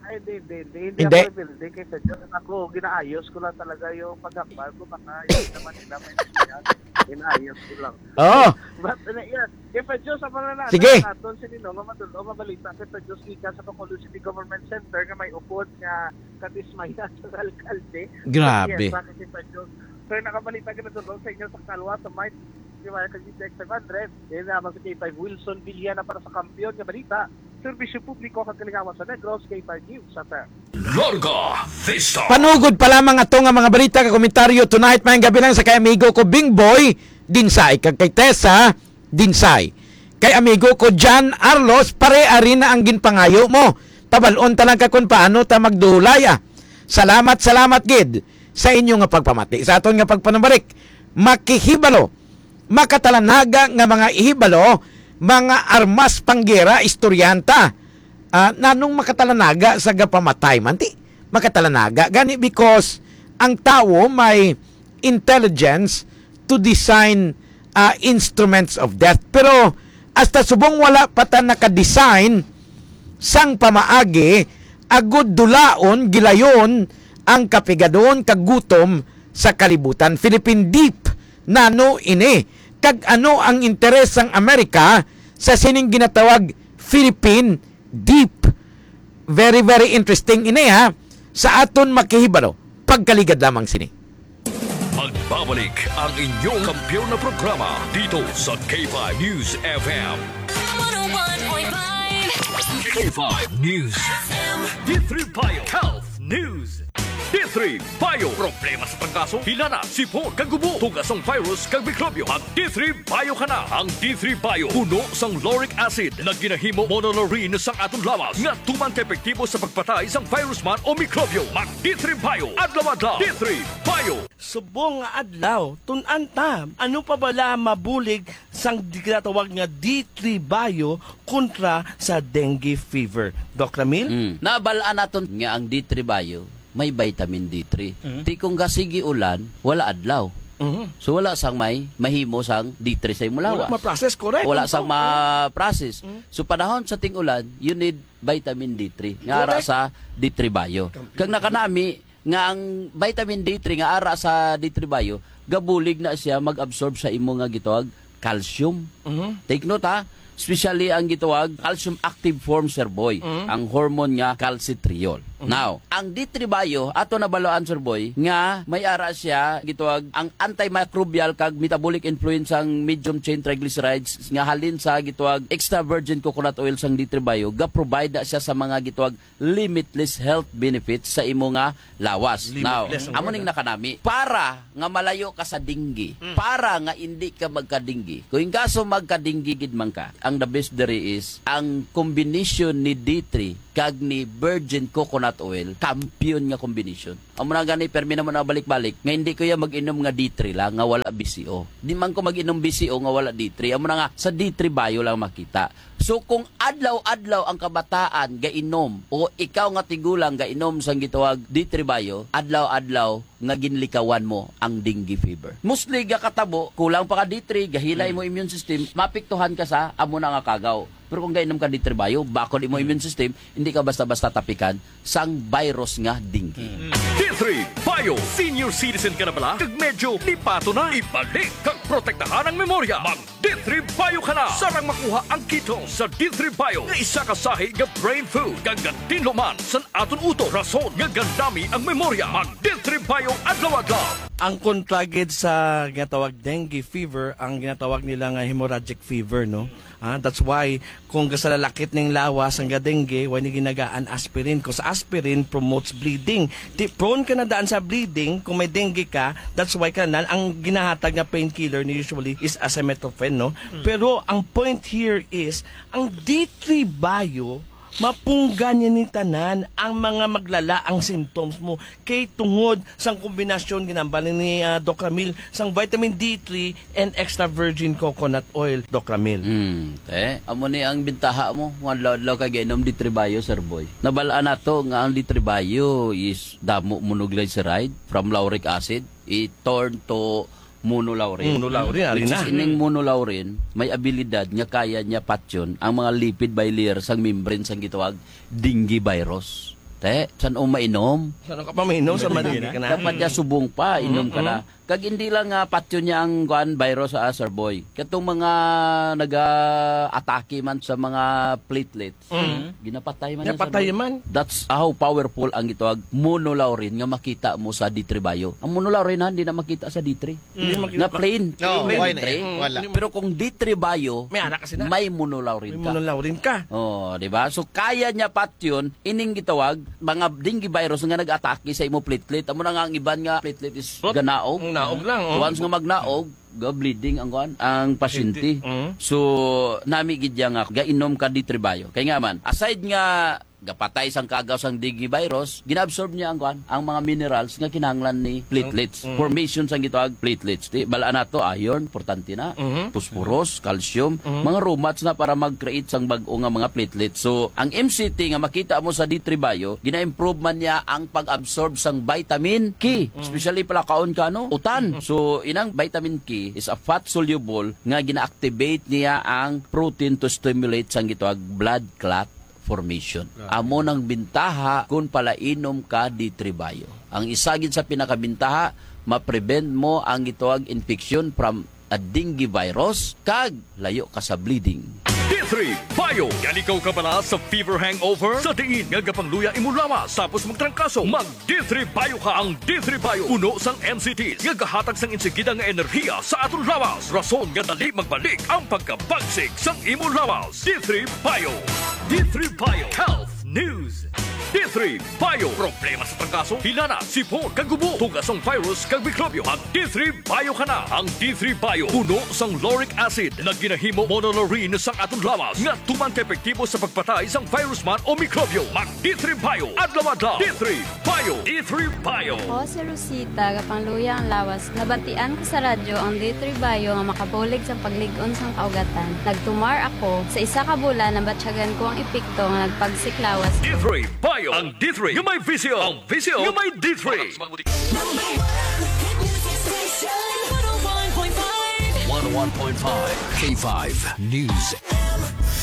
Ay, hindi, hindi, hindi. Hindi Hindi? ako rebelde kay sa Diyos. Ako, ginaayos ko lang talaga yung paghambal ko. Baka yun naman nila may siya. Ginaayos ko lang. Oo. But, uh, yeah. Kay pa Diyos, ang mga na-, Sige. naton, sini, no, nga madul-, o mabalita kay pa Diyos, gikan sa Bacolod City Government Center nga may upod nga kadismaya sa alkalde. Grabe. Yes, bakit kay pa Diyos? Sir, nakabalita ka na doon sa inyo sa Kalwa, sa Mike, di ba, sa G T X five hundred. Yan naman sa K five Wilson Villana para sa Kampiyon nga Balita. Serbisyo publiko kag kalingawan sa Negros, K five News F M. Larga Vista. Panugod pa lamang ato nga mga balita kag komentaryo tonight, maayong gabi lang sa kay amigo ko Bing Boy Dinsay kag kay Tessa Dinsay. Kay amigo ko John Arlos, pare, ari na ang ginpangayo mo. Pabal-on ta lang ka kung paano ta magdulay, ah. Salamat, salamat gid sa inyo nga pagpamati. Sa aton nga pagpanumbarik, makihibalo, makatalanaga nga mga ihibalo, mga armas panggera, istoryanta. Ah, nanong makatalanaga sa gapamatay man? Ti, makatalanaga gani because ang tawo may intelligence to design, ah, instruments of death. Pero hasta subong wala pa ta naka-design sang pamaagi agud dulaon, gilayon ang kapigadon kag gutom sa kalibutan. Philippine Deep, nano ini? Kag ano ang interes sang Amerika sa sining ginatawag Philippine deep. Very, very interesting ini, ha. Sa aton makahibalo, pagkaligad lamang sini. Magbabalik ang inyong kampiyon na programa dito sa K five News F M. One oh one point five. K five News F M. D three Bio Health News. D three Bio. Problema sa trangkaso, hilana, sipon, kag gubo, tugas sang virus kag mikrobyo. Mag D three Bio ka na. Ang D three Bio puno sang lauric acid nga ginahimo monolaurin sang aton lawas nga tuman ka epektibo sa pagpatay sang virus man o mikrobyo. Mag D three Bio adlaw-adlaw. D three Bio. Subong nga adlaw, tun-an ta, ano pa bala mabulig sang di-, ginatawag nga D three Bio kontra sa dengue fever? Doc Ramil? Mm. Nabal-an naton nga ang D three Bio may vitamin D three. Mm. Ti kung gasigi ulan, wala adlaw. Mhm. So, wala sang may mahimo sang D three sa imo lawas. Wala ma-process, correct. Wala sang ma-process. Mm. So, panahon sa ting-ulan, you need vitamin D three nga ara sa D three Bio. Kag nakanami nga ang vitamin D three nga ara sa D three Bio, gabulig na siya mag-absorb sa imo nga gitawag calcium. Mhm. Take note, ha, especially ang gitawag calcium active form, Sir Boy, Mhm. ang hormone nga calcitriol. Mhm. Now, ang D three Bio, ato nabaluan, Sir Boy, nga may ara siya gitawag ang antimicrobial kag metabolic influence sang medium chain triglycerides nga halin sa gitawag extra virgin coconut oil sang D three Bio, ga-provide na siya sa mga gitawag limitless health benefits sa imo nga lawas. Now, limitless ang amo word, ning ah. Nakanami. Para nga malayo ka sa dengue, Mm. para nga indi ka magka-dengue. Kung in kaso magka-dengue gid man ka, ang the best diri is ang combination ni D three kag ni virgin coconut oil, kampiyon nga combination. Amo na gani, permi na mo na balik-balik, nga hindi ko ya mag-inom nga D three lang, nga wala B C O. Di man ko mag-inom B C O nga wala D three. Amo na nga, sa D three Bio lang makita. So, kung adlaw-adlaw ang kabataan gainom o ikaw nga tigulang gainom sang gitawag D three Bio, adlaw-adlaw nga ginlikawan mo ang dengue fever. Mostly gakatabo, kulang pa ka D three, gahilay mo immune system, mapiktuhan ka sa amo na nga kagaw. Pero kung gainom ka D three Bio, bakod imo immune system, hindi ka basta-basta tapikan sang virus nga dengue. D three Bio, senior citizen ka na bala? Kag medyo lipato na? Ibalik kag protektahan ang memorya. Mag D three Bio ka na. Sarang makuha ang ketone sa D three Bio nga isa ka sahi nga brain food kag gatinlo man sa aton utok, rason nga gandami ang memorya. Mag D three Bio adlaw-adlaw. Ang kontra gid sa ginatawag dengue fever, ang ginatawag nila nga hemorrhagic fever, no? Ah, that's why kung gasalalakit ning lawas ang dengue, why ni ginagaan aspirin? 'Cause aspirin promotes bleeding. Di, prone ka na daan sa bleeding kung may dengue ka. That's why ka na, ang ginahatag nga painkiller ni usually is acetaminophen, no? Mm. Pero ang point here is, ang D three Bio, mapunggan niya ni tanan ang mga maglala ang symptoms mo. Kay tungod sang kombinasyon, ginambal ni, ah, Doc Ramil, sang vitamin D three and extra virgin coconut oil, Doc Ramil. Hmm, eh, amo ni ang bintaha mo. Kung adlaw-adlaw ka gainom D three Bio, Sir Boy. Nabal-an nato nga ang D three Bio is damo monoglyceride from lauric acid. It turn to monolaurin. Monolaurin, ari na. Which is, ining monolaurin, may abilidad nga kaya niya patyon ang mga lipid bilayer sang membrane sang gitawag dengue virus. Te, san-o mainom? San-o ka pa mainom? Sa Hindi madali na. Ka na. Dapat niya subong pa, inom ka na. Mhm. Kag hindi lang nga patyon niya ang, kuan, virus, ah, Sir Boy. Katong mga naga-atake man sa mga platelets, Mm. ginapatay man niya, Sir Boy. Napatay man. That's how powerful ang gitawag monolaurin nga makita mo sa D three Bio. Ang monolaurin, ha, hindi na makita sa D three. Mm. Hindi makita. Nga plain, No, plain why D three. Na? Wala. Pero kung D three Bio, May ara ka sila. May monolaurin May ka. Monolaurin ka. Oh, di ba? So, kaya niya patyon ining gitawag mga dengue virus nga nag-atake sa imo platelet. Amo na nga ang iban nga platelet is Rot-, ganaog. Ang naog lang, oh. Once nga magnaog, ga-bleeding ang kuan, ang pasyente. Pasyente. Mm. So, nami gid niya nga gainom ka D three Bio. Kay nga man, aside nga gapatay sang kagaw sang dengue virus, ginaabsorb niya ang kuan, ang mga minerals nga kinahanglan ni platelets. Mm. Formation sang gitawag platelets. Di, bal-an nato, iron, importante na. Mhm. Phosphorus, calcium, Mhm. mga romats na para mag-create sang bag-o nga mga platelets. So, ang M C T nga makita mo sa D three Bio, gina-improve man niya ang pag-absorb sang vitamin K, Mhm. especially palakaon ka, no? Utan. Mhm. So, inang vitamin K is a fat soluble nga gina-activate niya ang protein to stimulate sang gitawag blood clot formation. Grabe. Amo nang bintaha kung palainom ka D three Bio. Ang isa gid sa pinakabintaha, ma-prevent mo ang gitawag infection from a dengue virus, kag layo ka sa bleeding. D three Bio. Yalikaw ka bala sa fever hangover? Sa diin nga gapangluya imo lawas tapos magtrangkaso? Mag D three Bio ka. Ang D three Bio puno sang N C Ts nga gahatag sang insigida nga enerhiya sa aton lawas, rason nga dali magbalik ang pagkabagsik sang imo lawas. D three Bio. D three Bio Health News. D three Bio. Problema sa trangkaso, hilana, sipon, kag ubo, tugas sang virus kag mikrobyo. Mag D three Bio ka na. Ang D three Bio puno sang lauric acid nga ginahimo monolaurin sang aton lawas nga tuman ka epektibo sa pagpatay sang virus man o mikrobyo. Mag D three Bio adlaw-adlaw. D three Bio. D three Bio. Ako si Rosita, gapangluya ang lawas. Nabatian ko sa radyo ang D three Bio nga makabulig sa paglig-on sang kaugatan. Nagtumar ako. Sa isa ka bulan, nabatyagan ko ang epekto nga nagpagsik lawas ko. D three Bio. Ang D three nga may visyo. Ang visyo nga may D three. Number one hit music station, one oh one point five. One oh one point five K five News.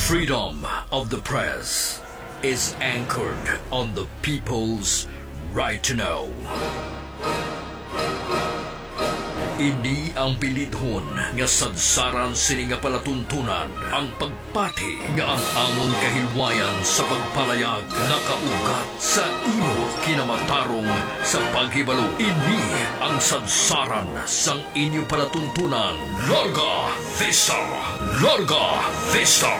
Freedom of the press is anchored on the people's right to know. Ini ang bilidhon nga sadsaran sini nga palatuntunan, ang pagpati nga ang amon kahilwayan sa pagpalayag nakaugat sa imo kinamatarong sa paghibalo. Ini ang sadsaran sang inyo palatuntunan. Larga Vista! Larga Vista!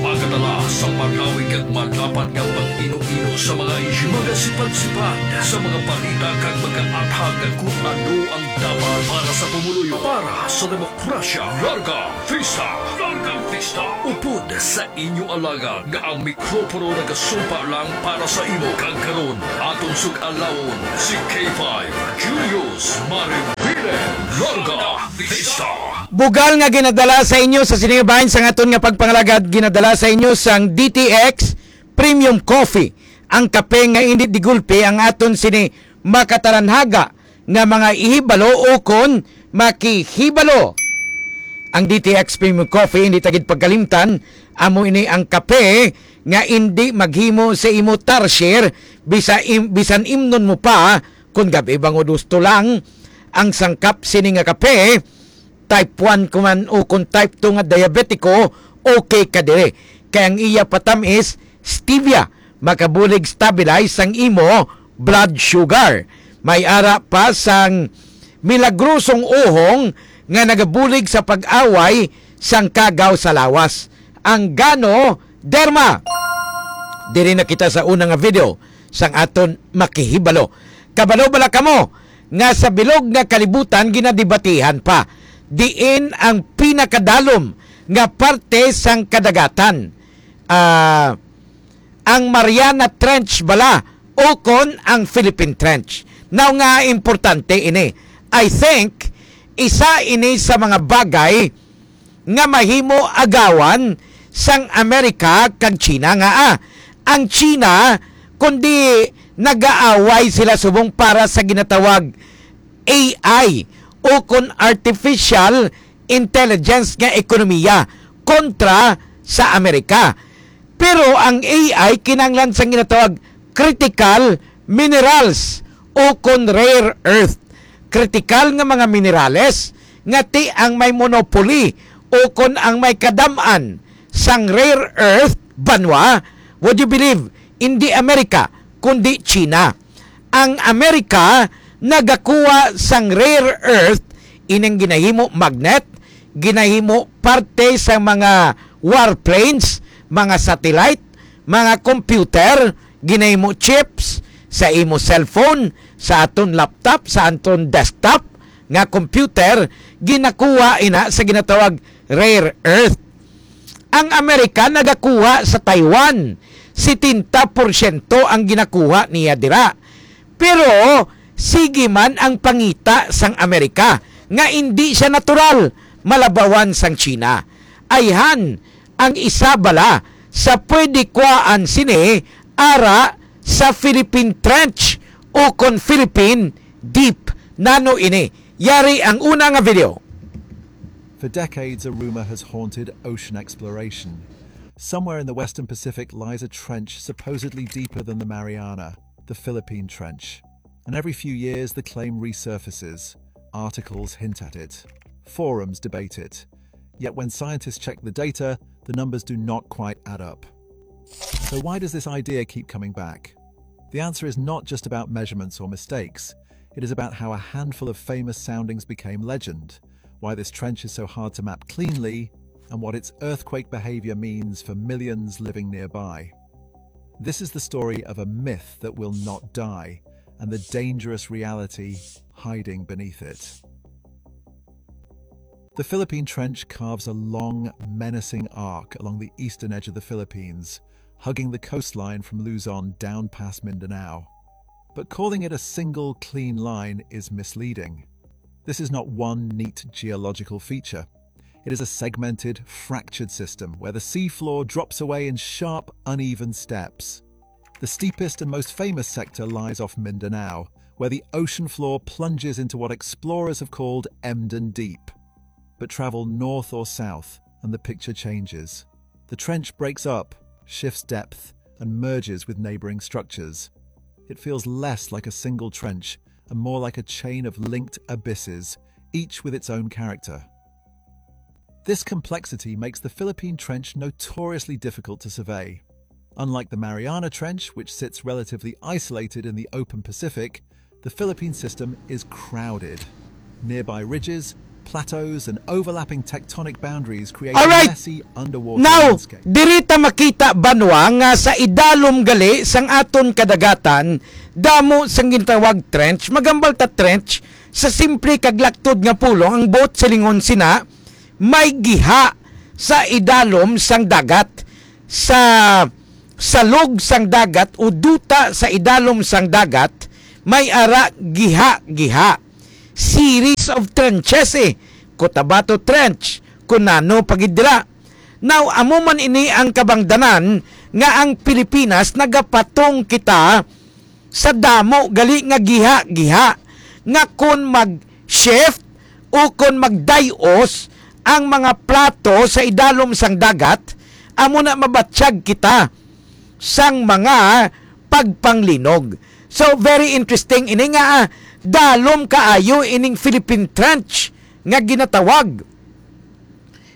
Magadala sa malawig kag malapad nga pag-ino-ino sa mga isyu, magasipad-sipad sa mga balita kag magaathag kung ano ang dapat para sa pumuluyo, para sa demokrasya. Larga Vista! Larga Vista! Upod sa inyo alagad nga ang mikropono nagasumpa lang para sa imo, kag karon aton sug-alawon si K five Julius Maribile. Larga Vista! Bugal nga ginadala sa inyo sa sini nga bahin sang aton nga pagpangalagad, ginadala sa inyo sang D T X Premium Coffee, ang kape nga indi di gulpi ang aton sini makatalanhaga nga mga ihibalo ukon makihibalo. Ang D T X Premium Coffee, hindi ta gid pagkalimtan, amo ini ang kape nga indi maghimo sa imo tarsier, bisa im-, bisan imnon mo pa kon gab-i bangod husto lang ang sangkap sini nga kape. Type one ko man o kon type two nga diabetiko, okay ka diri. Kay ang iya patam-is stevia, makabulig stabilize sang imo blood sugar. May ara pa sang milagrosong uhong nga nagabulig sa pag-away sang kagaw sa lawas, ang Ganoderma. Diri na kita sa una nga video sang aton makihibalo. Kabalo bala kamo nga sa bilog nga kalibutan ginadebatihan pa diin ang pinakadalom nga parte sang kadagatan, ah, ang Mariana Trench bala ukon ang Philippine Trench? Now nga importante ini. I think isa ini sa mga bagay nga mahimo agawan sang Amerika kag China nga, ah, ang China, kundi nagaaway sila subong para sa ginatawag A I ukon artificial intelligence nga ekonomiya kontra sa Amerika. Pero ang A I kinahanglan sang ginatawag critical minerals ukon rare earth. Kritikal nga mga minerales nga ti ang may monopoly ukon ang may kadam-an sang rare earth banwa, would you believe, indi Amerika, kundi China. Ang Amerika nagakuha sang rare earth, ining ginahimo magnet, ginahimo parte sa mga warplanes, mga satellite, mga computer, ginahimo chips sa imo cellphone, sa aton laptop, sa aton desktop nga computer, ginakuha ina sa ginatawag rare earth. Ang Amerika nagakuha sa Taiwan, setenta porsyento ang ginakuha niya dira. Pero sige man ang pangita sang Amerika nga indi siya natural, malabawan sang China. Ayhan ang isa bala sa pwede kuhaan sini ara sa Philippine Trench ukon Philippine Deep. Nano ini? Yari ang una nga video. For decades, a rumor has haunted ocean exploration. Somewhere in the Western Pacific lies a trench supposedly deeper than the Mariana, the Philippine Trench. And every few years, the claim resurfaces. Articles hint at it. Forums debate it. Yet when scientists check the data, the numbers do not quite add up. So why does this idea keep coming back? The answer is not just about measurements or mistakes. It is about how a handful of famous soundings became legend, why this trench is so hard to map cleanly, and what its earthquake behavior means for millions living nearby. This is the story of a myth that will not die and the dangerous reality hiding beneath it. The Philippine Trench carves a long, menacing arc along the eastern edge of the Philippines, hugging the coastline from Luzon down past Mindanao. But calling it a single clean line is misleading. This is not one neat geological feature. It is a segmented, fractured system where the seafloor drops away in sharp, uneven steps. The steepest and most famous sector lies off Mindanao, where the ocean floor plunges into what explorers have called Emden Deep. But travel north or south, and the picture changes. The trench breaks up, shifts depth, and merges with neighboring structures. It feels less like a single trench and more like a chain of linked abysses, each with its own character. This complexity makes the Philippine Trench notoriously difficult to survey. Unlike the Mariana Trench, which sits relatively isolated in the open Pacific, the Philippine system is crowded. Nearby ridges, plateaus, and overlapping tectonic boundaries create Alright. a messy underwater Now, landscape. Diri ta makita, banwa, nga sa idalom gali sang aton kadagatan, damo sang gintawag trench. Magambal ta trench sa simple kag laktod nga pulong, ang boat silingon sina may giha sa idalom sang dagat. Sa salog sang dagat o duta sa idalom sang dagat, may ara giha-giha. Series of trenches, eh. Cotabato Trench, kun ano pa gid dira. Now, amo man ini ang kabangdanan nga ang Pilipinas nagapatong kita sa damo gali nga giha-giha, nga kon mag-shift o kon magday-os ang mga plato sa idalom sang dagat, amo na mabatyag kita sang mga pagpanglinog. So, very interesting ini nga, ah, dalom kaayo ining Philippine Trench nga ginatawag.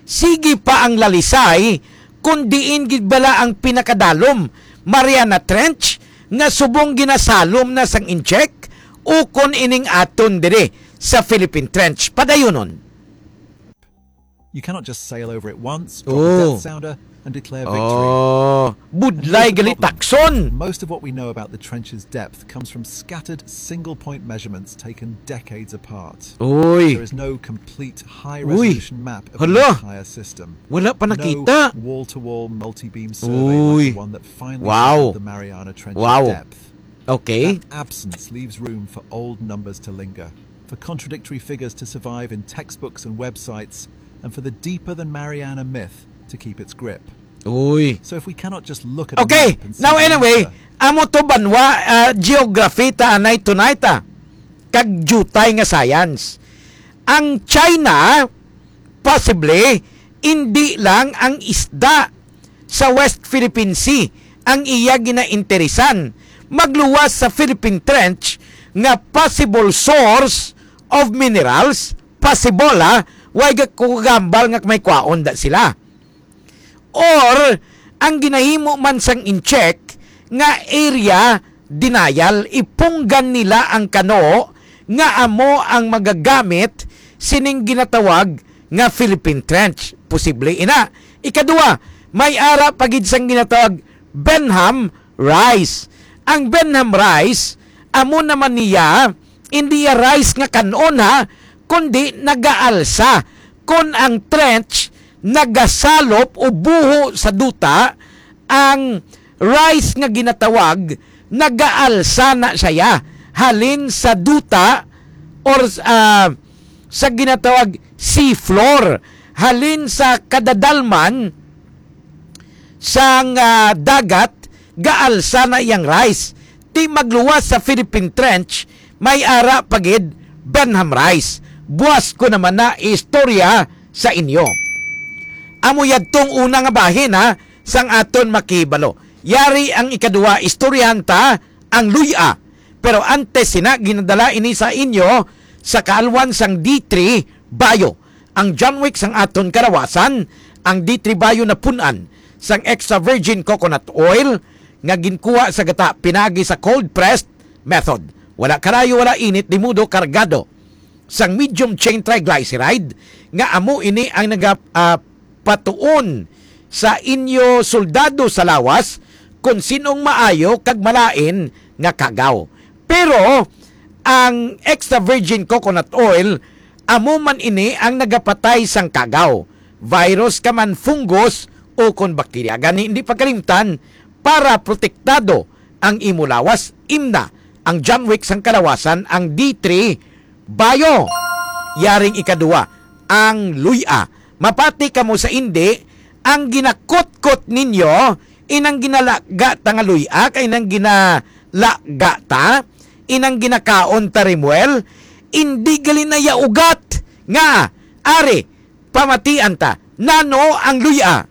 Sige pa ang lalisay kon diin gid bala ang pinakadalom, Mariana Trench, nga subong ginasalom na sang incheck, ukon ining aton diri sa Philippine Trench. Padayunon. You cannot just sail over it once, drop a Oh. death sounder, and declare victory. Oh, budlay gali takson. Most of what we know about the trench's depth comes from scattered single-point measurements taken decades apart. Uy. There is no complete high-resolution map of the entire system. Wala pa nakita. No wall-to-wall multi-beam survey like the one that finally settled the Mariana Trench's depth. Okay. That absence leaves room for old numbers to linger, for contradictory figures to survive in textbooks and websites, and for the deeper than Mariana myth to keep its grip. Uy. So if we cannot just look at a Okay, map and now see the anyway, answer, amo to banwa, ah, geography ta anay tunay ta. Kag diutay nga science. Ang China, possibly, indi lang ang isda sa West Philippine Sea ang iya ginainteresan. Magluwas sa Philippine Trench nga possible source of minerals, possible, ha, way ga-, ko gambal nga may kwaon da sila. Or, ang ginahimo man sang incheck nga area denial, ipunggan nila ang kano nga amo ang magagamit sining ginatawag nga Philippine Trench. Posible ina. Ikaduha, may ara pa gid sang ginatawag Benham Rise. Ang Benham Rise, amo naman niya, hindi ya rise nga kanon, ha, kundi nagaalsa. Kon ang trench nagasalop o buho sa duta, ang rise nga ginatawag, nagaalsa na siya halin sa duta or, ah, sa ginatawag seafloor, halin sa kadadalman sang, ah, dagat, gaalsa na iyang rise. Ti magluwas sa Philippine Trench, may ara pa gid Benham Rise. Buas ko naman na istorya sa inyo. Amo yadtong una nga bahin, ha, sang aton makibalo. Yari ang ikaduha, istoryahan ta ang luy-a. Pero antes sina, ginadala ini sa inyo sa kaalwan sang D three Bio. Ang John Wick sang aton kalawasan, ang D three Bio napun-an sang extra virgin coconut oil nga ginkuha sa gata pinaagi sa cold pressed method. Wala kalayo, wala init, di mudo kargado sang medium chain triglyceride nga amo ini ang naga, ah, patuon sa inyo soldado sa lawas kon sinong maayo kag malain nga kagaw. Pero ang extra virgin coconut oil, amo man ini ang nagapatay sang kagaw, virus ka man, fungus, o kon bakterya. Gani, hindi pagkalimtan, para protektado ang imo lawas, imna ang John Wick sang kalawasan, ang D three Bio. Yaring ikaduwa, ang luy-a. Mapati kamo sa indi, ang ginakutkot ninyo, inang ginalaga ta nga luy-a, kay nang ginalaga ta, inang ginakaon ta rimwel, indi gali na ya ugat nga, ari, pamatian ta, nano ang luy-a?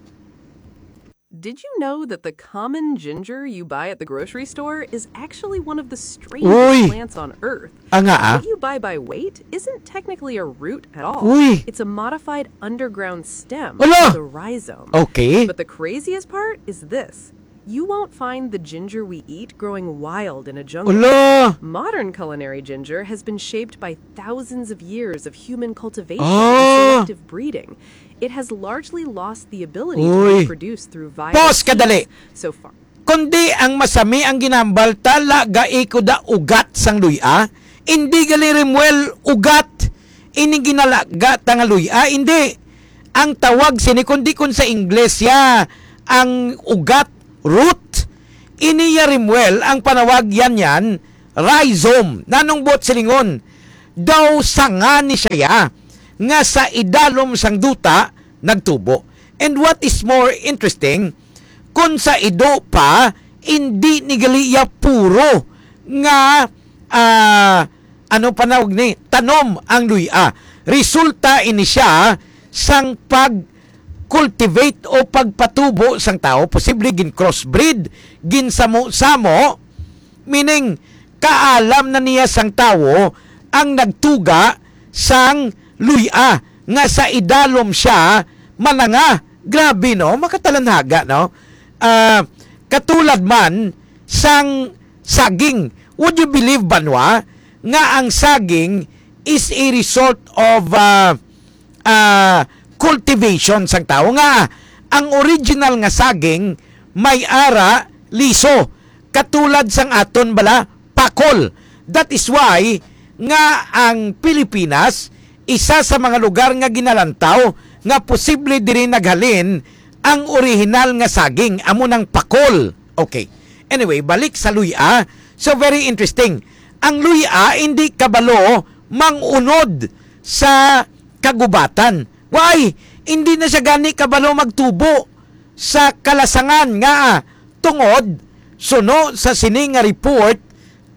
Did you know that the common ginger you buy at the grocery store is actually one of the strangest Uy! Plants on earth? Anga, ah? What you buy by weight isn't technically a root at all. Uy! It's a modified underground stem Ala! Called the rhizome. Okay. But the craziest part is this. You won't find the ginger we eat growing wild in a jungle. Ala! Modern culinary ginger has been shaped by thousands of years of human cultivation Ah! And selective breeding. It has largely lost the ability to Uy. Reproduce through viral Pause kadali. Seeds. So far. Kundi ang masami ang ginambal ta, laga iko da ugat sang luy-a. Indi gali rimwel ugat. Ini ginalaga ta nga luy-a, indi. Ang tawag sini, kundi kun sa Ingles ya ang ugat, root. Ini ya rimwel, ang panawag yan yan, rhizome. Nanong buot silingon? Daw sanga ni siya ya, nga sa idalom sang duta nagtubo. And what is more interesting, kun sa ido pa, indi ni gali ya puro nga, ah, ano panawag ni, tanom ang luy-a. Resulta ini siya sang pag-cultivate o pagpatubo sang tawo, posible gin-crossbreed, ginsamo-samo, meaning kaalam na niya sang tawo ang nagtuga sang luy-a nga sa idalom siya mananga. Grabe, no? Makatalanhaga, no? Ah, katulad man sang saging. Would you believe, banwa, nga ang saging is a result of, ah, ah, cultivation sang tawo, nga ang original nga saging may ara liso, katulad sang aton bala pakol. That is why nga ang Pilipinas isa sa mga lugar nga ginalantaw nga posible diri naghalin ang orihinal nga saging, amo nang pakol. Okay. Anyway, balik sa luy-a. So, very interesting. Ang luy-a hindi kabalo mangunod sa kagubatan. Why? Hindi na siya gani kabalo magtubo sa kalasangan nga tungod suno sa sini nga report,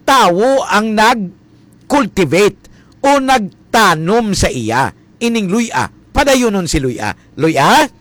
tawo ang nag-cultivate o nagtanom sa iya ining luy-a. Padayunon si luy-a. Luy-a?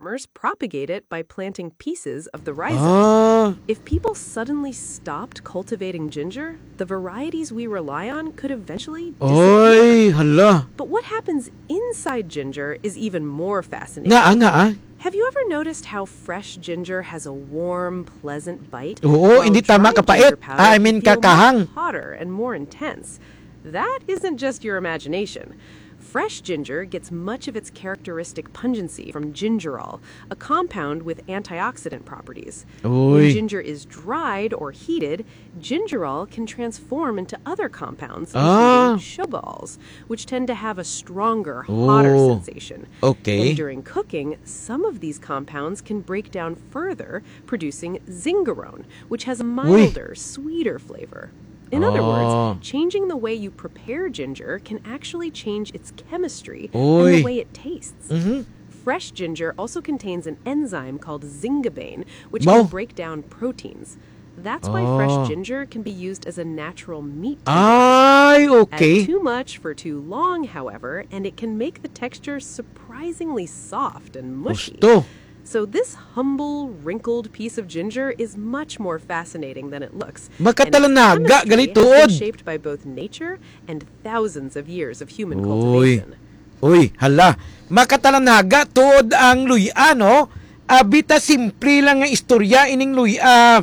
Farmers propagate it by planting pieces of the rhizome. Ah. If people suddenly stopped cultivating ginger, the varieties we rely on could eventually disappear. Oy, hala. But what happens inside ginger is even more fascinating. Nga, ah, nga, ah. Have you ever noticed how fresh ginger has a warm, pleasant bite? Oo, while hindi tama dry kapait. Ginger powder Ah, I mean, can feel much kakahang. Hotter and more intense? That isn't just your imagination. Fresh ginger gets much of its characteristic pungency from gingerol, a compound with antioxidant properties. When Uy. Ginger is dried or heated, gingerol can transform into other compounds, Ah. Including shobaols, which tend to have a stronger, hotter Oh. Sensation. Okay. And during cooking, some of these compounds can break down further, producing zingarone, which has a Uy. Milder, sweeter flavor. In other Ah. Words, changing the way you prepare ginger can actually change its chemistry and Uy. The way it tastes. Mhm. Fresh ginger also contains an enzyme called zingabane, which Wow. Can break down proteins. That's why fresh Ah. Ginger can be used as a natural meat tender. Ay, okay. Add too much for too long, however, and it can make the texture surprisingly soft and mushy. Gusto. So this humble, wrinkled piece of ginger is much more fascinating than it looks. Makatalanaga gali tuod. Shaped by both nature and thousands of years of human cultivation. Uy, hala. Makatalanaga tuod ang luy-a, no? Abi ta simple lang nga istorya ining luy-a,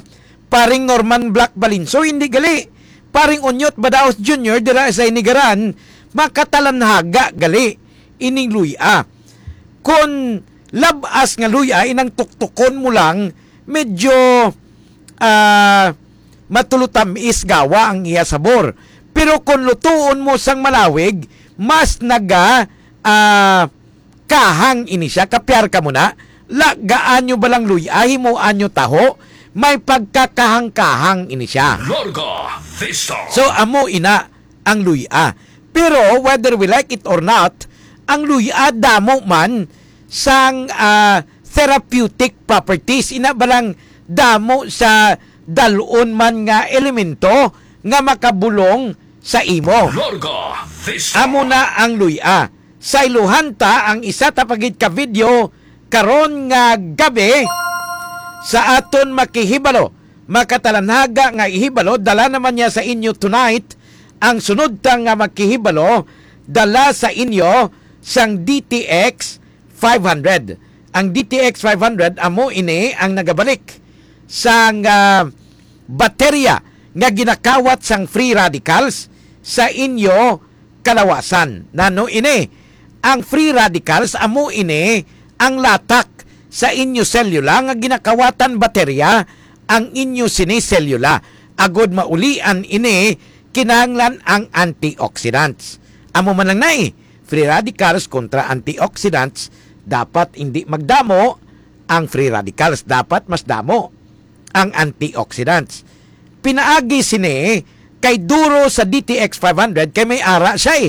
paring Norman Black Balinso, hindi gali. Paring Onyot Badaos Junior dira sa Inigaran, makatalanaga gali ining luy-a. Kon lab-as nga luy-a, inang tuktukon mo lang, medyo ah, matulutamis gawa ang iya sabor. Pero kon lutuon mo sang malawig, mas naga ah, kahang ini siya. Kapyar ka mo na, lagaan nyo balang luy-a, himuan nyo taho, may pagkakahang-kahang ini siya. Larga Vista. So amo ina ang luy-a. Pero whether we like it or not, ang luy-a damo man sang ah, therapeutic properties, ina balang damo sa dalon man nga elemento nga makabulong sa imo. Larga Vista. Amo na ang luy-a. Sayluhan ta ang isa ta pa gid ka video karon nga gabi sa aton makihibalo, makatalanaga nga ihibalo. Dala naman niya sa inyo tonight ang sunod ta nga makihibalo, dala sa inyo sang D T X five hundred. Ang D T X five hundred amo ini ang nagabalik sang ah, baterya nga ginakawat sang free radicals sa inyo kalawasan. Nano ini? Ang free radicals amo ini ang latak sa inyo selula nga ginakawatan baterya ang inyo sini selula. Agod maulian ini, kinahanglan ang antioxidants. Amo man lang na eh, free radicals kontra antioxidants, dapat hindi magdamo ang free radicals, dapat mas damo ang antioxidants. Pinaagi sini kay duro sa D T X five hundred kay may ara siya eh.